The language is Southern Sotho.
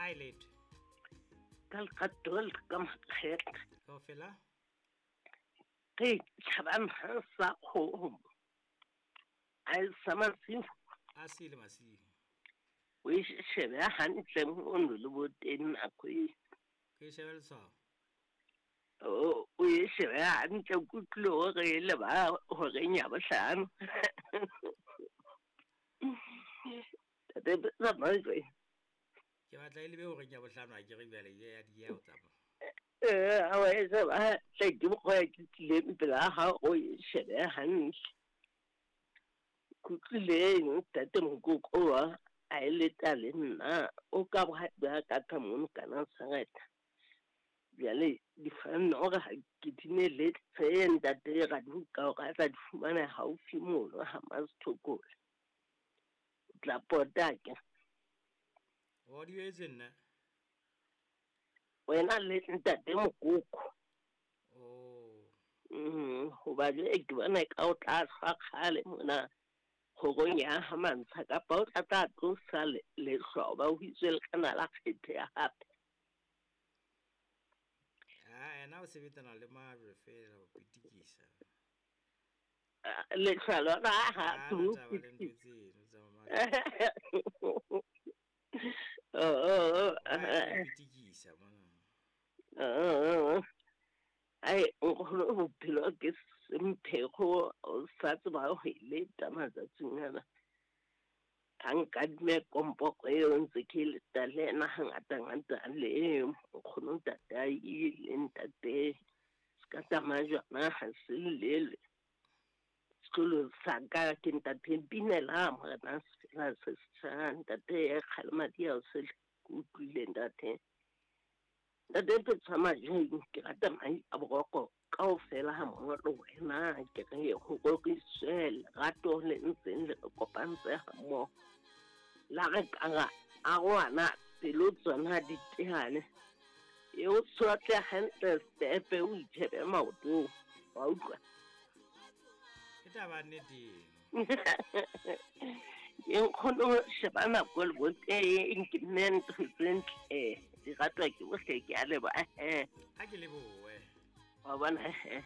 Hi letho. Ka lerato le ka makgetha. Kaofela? Re tjhabang ha sa kgomo. A e sa masiu. A sile masiu. O e shebe hantle mono le boteng nako e. Ke shebe letshwao. O e shebe hantle ke utlwile hore e le ba horeng ya bohlano. Tate tsamaya. Ke batla e lebe horeng ya bohlano ha ke re jwale e ya dieha ho tsamaya. Ha wa e sheba hantle ke mokgwa ke tlileng pela hao o e shebe hantle. Ke utlwileng ntate Mokoko wa a e leta le nna o ka ba ka ka mono kana Saretha. Bjale difanno hore ha ke di neletse ntate Raduka hore a tla di fumana haufi mono ha Masithokole. O tla pota ke. O di etse nna? Wena le ntate Mokoko. Oh. Hoba jwale ke bona ka o tla hlwa kgale mona kgorong ya ha Mantsha kapa o tla tla tlosa lehlwa ba ho itswe le kana la kgetheha hape. Ah, ena o sebetsana le majwe fela ho pitikisa. Lehlwa lona ha tlo taba le ntho tseno tsa majwe. Oh, pitikisa mona. Ai, nkgono bophelo ke semphego o sa tseba ho e leta matsatsing ana. Ha nkadime kompoko eo ntse ke leta le ena hangata-ngata le nkgono ntate a ile ntate se ka tsamaya jwana ha se llele. Sekolo sa ka ke ntate Mpinela morena sefela se setjha ntate Kgalemadi a o se ke utlwile ntate. Ntate Petshwa Majeng ke rata mai a boroko kaofela ha mmoho le wena ke re ho roriswe lerato le ntseng le re kopantse ha mmoho. La re kara arohana pelo tsona di tehane. E o tshotle hantle stepe o itjhebe maotong. Wa utlwa? Ke taba nnete eno. Ke nkgono sheba nako le boteng ke nne ntho tse ntle di ratwa ke bohle ke a leboha. Ha ke lebohe. Wa bona he.